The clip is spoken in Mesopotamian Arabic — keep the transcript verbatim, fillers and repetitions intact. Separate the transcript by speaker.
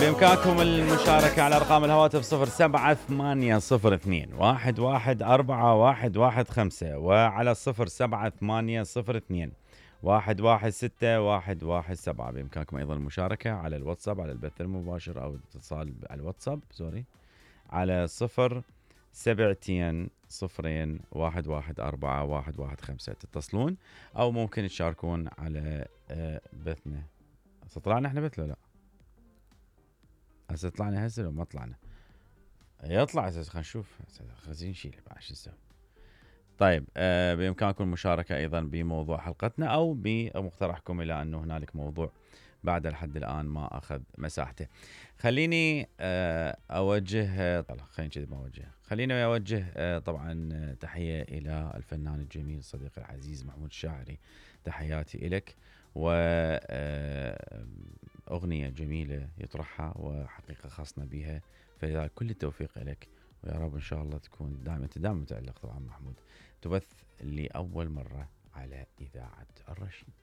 Speaker 1: بإمكانكم المشاركة على أرقام الهواتف صفر سبعة ثمانية صفر اثنين واحد واحد أربعة واحد واحد خمسة وعلى صفر سبعة ثمانية صفر اثنين واحد واحد ستة واحد واحد سبعة. بإمكانكم أيضا المشاركة على الواتساب على البث المباشر أو الاتصال على الواتساب سوري على صفر سبعتين صفرين واحد واحد أربعة واحد واحد خمسة تتصلون أو ممكن تشاركون على بثنا. طلعنا احنا بث لا هسه طلعنا هسه لو ما طلعنا يطلع هسه خلينا نشوف خلينا نشيل بعد شو نسوي. طيب آه بإمكانكم المشاركة أيضا بموضوع حلقتنا أو بمقترحكم إلى أنه هنالك موضوع بعد لحد الآن ما أخذ مساحته. خليني آه أوجه طلع خليني كذي ما أوجه خليني أوجه آه طبعا تحية إلى الفنان الجميل صديقي العزيز محمود الشاعري. تحياتي إلك وأغنية جميلة يطرحها وحقيقة خاصنا بها فلذلك كل التوفيق لك ويا رب إن شاء الله تكون دائما أنت دائما متألق طبعا محمود. تبث لأول مرة على إذاعة الرشيد.